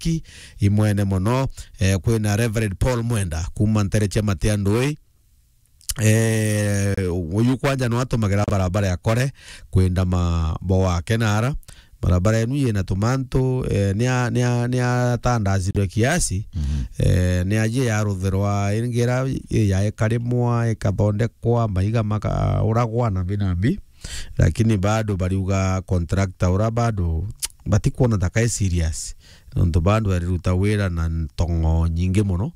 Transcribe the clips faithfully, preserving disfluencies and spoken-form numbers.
Mwaniki, imwene mono. Eh, kwina Reverend Paul Mwenda, kuma ntere cia Matia Ndui. Eh, uyu kwanja no atumagira barabara ya Kore kwenda ma bo wake nara. Barabara enu yina tumantu, eh, nia, nia, niatandazirwe kiasi. Mhm. Eh, niaje yaruthirwa ingira yaekarimwa, ikathondekwa, maiga makauragwa na binambi. Lakini bado bariuga contractor ura bado batikwona ta kai serious. Nontu bado ariruta wira na ntongo nyingi mono.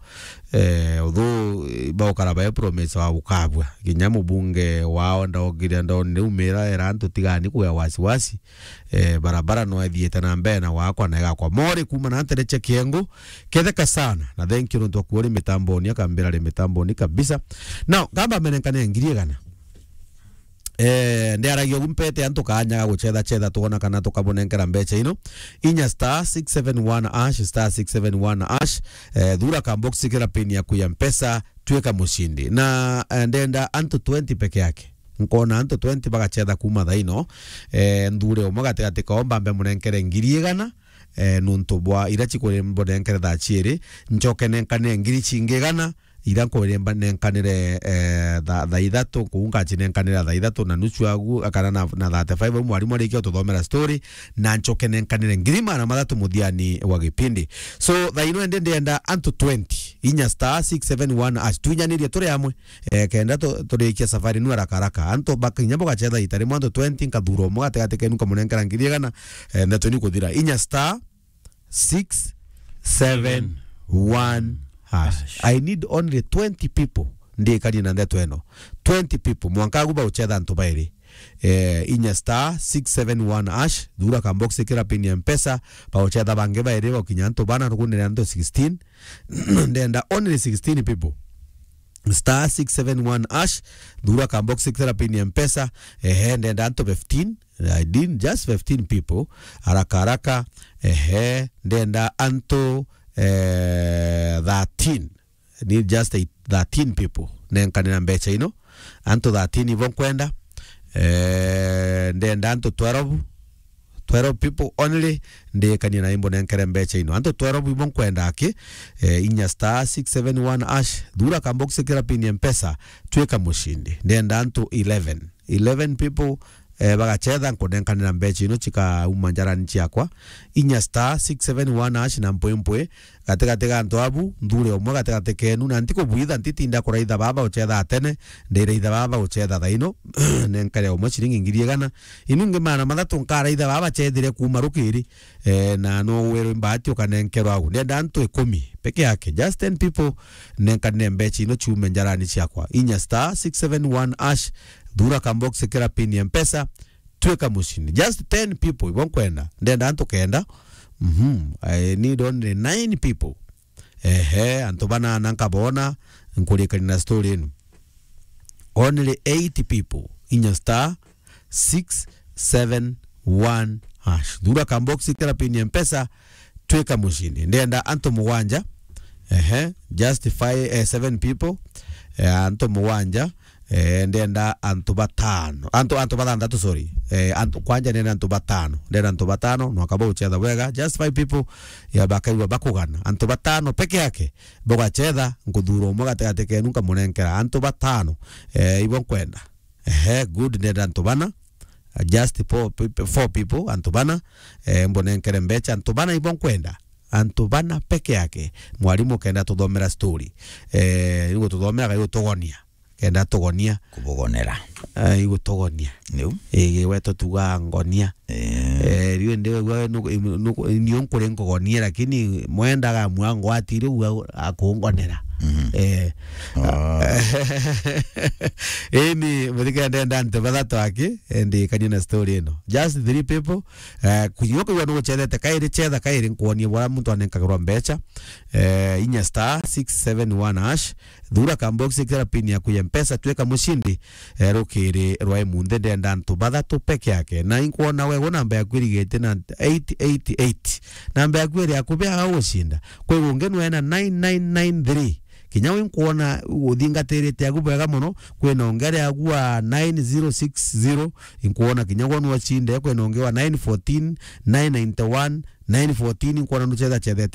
Eh, although, eh, baukara bae promise wa gukabua. Kinya mubunge wao ndaugire ndonire umira era antu tigani kuya wasiwasi. Eh, barabara no ethiite na mbere na wakwa na igakwa. Mori kuma na ntere cia Kiengu, ketheka sana. Na thank you nontu akuo ri mitamboni, akambira ri mitamboni kabisa. Now, ngamba menenkane ngiri igana. Eh, ndiaragia ugu mpete antu kanya ga gucetha cetha twona kana tukabunenkera mbecha ino. Inya star six seven one hash, star six seven one hash. Eh, thura ka box kira pin yaku ya Mpesa, twika mushindi. Na, eh, ndenda antu twenty peke yake. Nkona antu twenty bagacetha kuma thaino. Eh, nthure umwe gatigati kao mbambe munenkere ngiri igana. Eh, nuntu bwa ira cikuri mbunenkere thaa ciiri. Ncoke nenkanire ngiri cingi igana. Ira nkwire mba nenkanire, eh, tha-, thaa ithatu, kuu ngacinenkanira thaa ithatu na nusu agu, kana na, na thirty-five au mwarimu arikia ututhomera story, na ncoke nenkanire ngiri magana mathatu muthiani wa gipindi. So, thaa ino ende ndienda antu twenty, inya star six seven one hash, twinyanirie turi amwe, eh, kenda tu-, turikia safari nu haraka haraka. Antu bakinya bugacetha ita rimwe antu twenty, nkathura umwe gatigati kenu nkamunenkera ngiri igana, eh, ndeto ni kuthira. Inya star six seven one hash. Hash. I need only twenty people. Ndikanie na ndeto eno. Twenty people. Mwanka agu baucetha antu bairi. Eh, inya star six seven one hash. Thura ka box kira pin ya Mpesa. Baucetha bangi bairi baukinya antu bana rugunire antu sixteen. Ndenda only sixteen people. Star six seven one hash. Thura ka box kira pin ya Mpesa. Ehe, ndenda antu fifteen. I did just fifteen people. Haraka haraka. Ehe, ndenda antu, eh, thirteen. Need just a thirteen people. Nenkanira mbecha ino. Antu thirteen ibo nkwenda. Eh, ndenda antu twelve. Twelve people only. Ndikanie na imbo nenkere mbecha ino. Antu twelve ibo nkwenda aki. Eh, inya star six seven one hash. Thura ka box kira pin ya Mpesa. Twika mushindi. Ndenda antu eleven. Eleven people, eh, bagacetha nkunenkanira mbecha ino cikauma njarani ciakwa. Inya star six seven one hash na mpwimpwi. Gatigati ga antu abu, nthure umwe gatigati kenu, na ntikubwitha, ntitinda kuraitha baba ucetha tene, ndiraitha baba ucetha thaino, nenkare umwe ciringi ngiri igana. Inu ingi magana mathatu nkaraitha baba cethire kuma rukiri. Eh, na no werwe mbati ukanenkerwa agu. Ndenda antu ikumi peke yake, just ten people, nenkanire mbecha ino ciume njarani ciakwa. Inya star six seven one hash, thura ka box kira pin ya Mpesa, twika mushindi. Just ten people, ibo nkwenda. Ndenda antu kenda. Mhm. I need only nine people. Ehe, antu banana nkabona, nkurikania na story ino. Only eight people, inya star six seven one hash. Thura ka box kira pin ya Mpesa, twika mushindi. Ndenda antu mugwanja. Ehe, just five, eh, seven people. Eh, antu mugwanja. Eh, ndenda antu batano. Antu, antu bathanthatu, sorry. Eh, antu, kwanja ndenda antu batano. Ndenda antu batano, no akaba uchetha wega. Just five people, ya bakaigua bakugana. Antu batano peke yake. Bugachetha, nkuthura umwe gatigati kenu nkamunenkera antu batano. Eh, ibo nkwenda. Ehe, good, ndenda antu bana. Uh, just four peop-, four people, antu bana. Eh, mbunenkere mbecha, antu bana ibo nkwenda. Antu bana peke yake. Mwarimu kenda tuthomera story. Eh, igututhomera, igutugonia. Kenda tugonia. Kubugonera. Eh, igutugonia. Niu. Igi we tutuga ngonia. Eh. Eh, riu ndi we nuku-, nuku-, nio nkuri nkugonie, lakini mwendaga mwango atiri u akungonera. Mhm. Eh. Oh. Ini muthikira ndenda antu bathatu aki, eh, ndikanie na story ino. Just three people. Eh, kunyua kwigua nuguchethete kairi, chetha kairi nkuonie bora muntu anenkagirwa mbecha. Eh, inya star six seven one hash. Thura ka box kira pin yaku ya Mpesa, twika mushindi, eh, rukiri rwa imunthe. Ndenda antu bathatu peke yake. Na inkwona we, we namba yaku irigite na eight eight eight. Namba yaku iri yaku bea gucinda. Kwi gungi nwena nine nine nine three. Kinya wi nkwona uthingatirite yaku bwega mono, kwina ungi ari yaku wa nine zero six zero, inkwona kinya gwo nwacinde, kwina ungi wa nine fourteen, nine ninety one, nine fourteen, inkwona nuchetha chethete